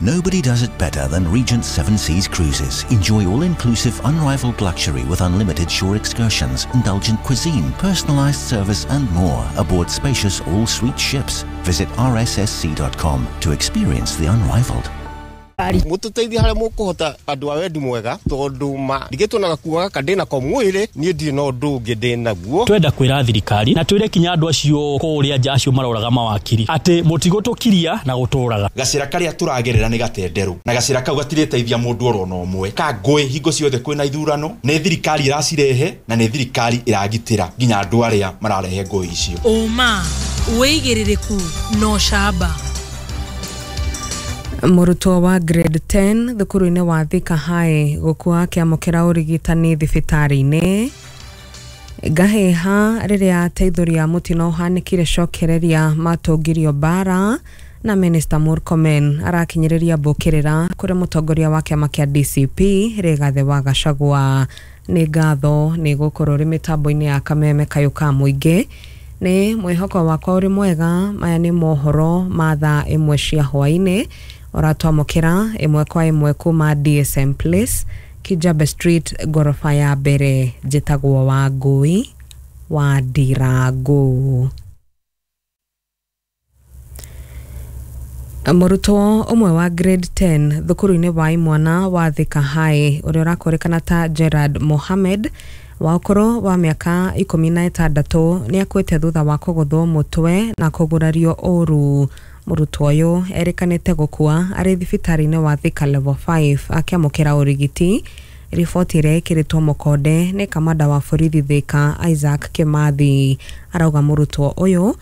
Nobody does it better than Regent Seven Seas Cruises. Enjoy all-inclusive, unrivaled luxury with unlimited shore excursions, indulgent cuisine, personalized service and more aboard spacious all-suite ships. Visit rssc.com to experience the unrivaled. Mututeithie haria mukuhota andu a wendi mwega tondu ma ndigitwo na gakuo gaka ndina ko mwiri nie ndirĩ na ũndũ ũngĩ ndĩ naguo. Twenda kwĩra thirikari na twĩre kinya andũ acio kũrĩa nja acio maroraga mawakiri atĩ mũtigũtũkiria na gũtũraga. Gacĩra karĩa tũragerera nĩ gatenderũ na gacĩra kau gatirĩteithia mũndũ oro na ũmwe ka ngũĩ hingo ciothe kwĩna ithurano nĩ thirikari ĩracirehe na nĩ thirikari ĩragitĩra nginya andũ arĩa mararehe ngũĩ icio. Ũma wĩigĩrĩrĩku na ũcamba. Mũrutwo wa grade 10 thukuru-inĩ wa Thika High gũkua akĩamũkĩra ũrigitani thibitarĩ-inĩ. Ngahĩha rĩrĩa ateithũri a mũtino ũhanĩkire cokereria matũngirio mbara na Minister Murkomen arakinyĩrĩria mbũkĩrĩra kũrĩ mũtongoria wa kĩama kĩa DCP Rigathĩ wa Gachagua. Nĩ ngatho nĩ gũkorwo ũrĩ mĩtambo-inĩ ya Kameme kayũ ka mũingĩ. Nĩ mwĩhoko wakwa ũrĩ mwega. Maya nĩ mohoro ma thaa 1 cia hwaĩ-inĩ ũratwamũkĩra ĩmwe kwa ĩmwe kuma DSM Place, Kijabe Street, ngoroba ya mbere. Njĩtagwo Wangũi wa Ndirangu. Mũrutwo ũmwe wa grade 10 thukuru-inĩ wa imwana wa Thika High ũrĩa ũrakũrĩkana ta Gerard Mohammed wa ũkũrũ wa mĩaka 16 nĩ akuĩte thutha wa kũgũthwo mũtwe na kũgurario ũru. Mũrutwo ũyũ erĩkanĩte gũkua arĩ thibitarĩ-inĩ wa Thika Level 5 akĩamũkĩra ũrigiti. Riboti ĩrĩa ĩkĩrĩtwo mũkonde nĩ kamanda wa borithi Thika Isaac Kimathi arauga mũrutwo ũyũ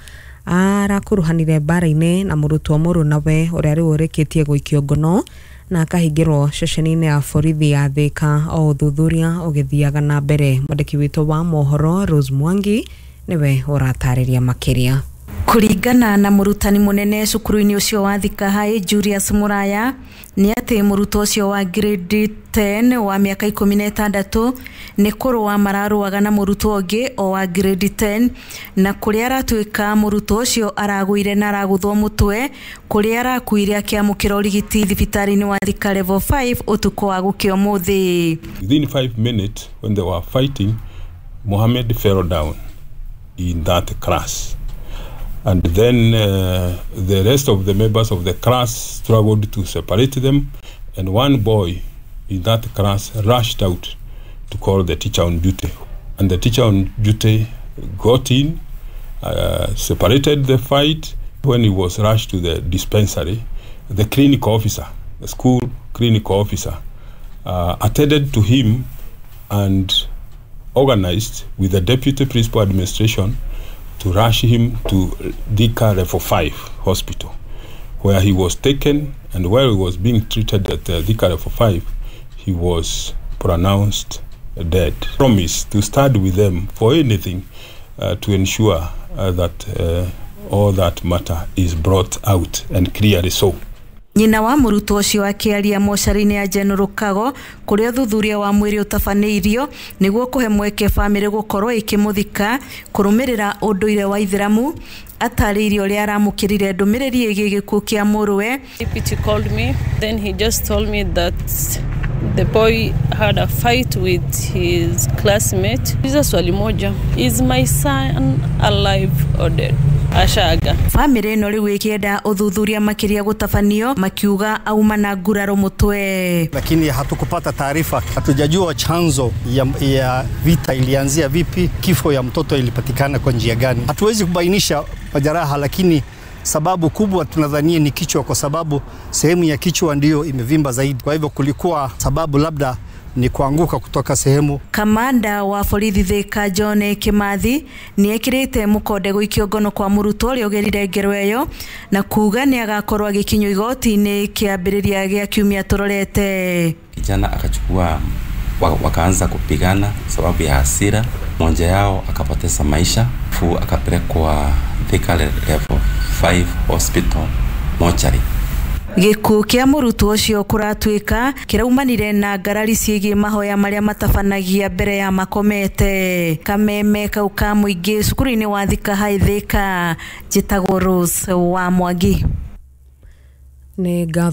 arakuruhanire mbara-inĩ na mũrutwo mũrunawe ũrĩa rĩu ũrĩkĩtie gũikio ngono na akahingĩrwo ceceni-inĩ ya borithi ya Thika o ũthuthuria ũgĩthiaga na mbere. Mwandĩki witũ wa mohoro Rose Mwangi nĩwe ũratarĩria makĩria. Kũringana na mũrutani mũnene cukuru-inĩ ũcio wa Thika High Julius Muraya nĩ atĩ mũrutwo ũcio wa grade 10 wa mĩaka 16 nĩ kũrũa mararũaga na mũrutwo ũngĩ o wa grade 10 na kũrĩa aratuĩka mũrutwo ũcio aragũire na aragũthwo mũtwe kũrĩa arakuire akĩamũkĩra ũrigiti thibitarĩ-inĩ wa Thika Level 5 ũtukũ wa gũkĩa ũmũthĩ. Within 5 minutes when they were fighting, Mohammed fell down in that class. And then the rest of the members of the class struggled to separate them, and one boy in that class rushed out to call the teacher on duty. And the teacher on duty got in, separated the fight. When he was rushed to the dispensary, the clinic officer, the school clinic officer, attended to him and organized with the deputy principal administration to rush him to Thika Level 5 hospital, where he was taken, and while he was being treated at Thika Level 5, he was pronounced dead. Promise to stand with them for anything to ensure that all that matter is brought out and clearly so. Nyina wa mũrutwo ũcio akĩaria mocarĩ-inĩ ya General Kago kũrĩa ũthuthuria wa mwĩrĩ ũtabanĩirio nĩguo kũhe mweke bamĩrĩ gũkorwo ĩkĩmũthika kũrũmĩrĩra ũndũire wa Ithĩramu atarĩirie ũrĩa aramũkĩrire ndũmĩrĩri ĩgiĩ gĩkuũ kĩa mũrũwe. Deputy called me, then he just told me that the boy had a fight with his classmate. Hizo swali moja, is my son alive or dead? Ashaga. Famĩlĩ ĩno rĩu ĩkĩenda ũthuthuria makĩria gũtabanio makiuga auma na nguraro mũtwe. Lakini hatukupata taarifa, hatujajua chanzo ya vita ilianzia vipi, kifo ya mtoto ilipatikana kwa njia gani. Hatuwezi kubainisha majeraha, lakini sababu kubwa tunadhania ni kichwa, kwa sababu sehemu ya kichwa ndiyo imevimba zaidi. Kwa hivyo kulikuwa sababu labda ni kuanguka kutoka sehemu. Kamanda wa borithi Thika John Kimathi nĩ ekĩrĩte mũkonde gũikio ngono kwa mũrutwo ũrĩa ũgerire ngero ĩyo na kuga nĩ agakorwo agĩkinyio igoti-inĩ kĩambĩrĩria gĩa kiumia tũrorete. Kijana akachukua wakaanza kupigana sababu ya hasira, mmoja yao akapoteza maisha, fu akapelekwa Thika Level 5 hospital mochari. Gĩkuũ kĩa mũrutwo ũcio kũratuĩka kĩraumanire na ngarari ciĩgiĩ mahoya marĩa matabanagia mbere ya makomete. Kameme kau ka mũingĩ cukuru-inĩ wa Thika High Thika, njĩtagwo Rose wa Mwangi. Nĩ ngatho.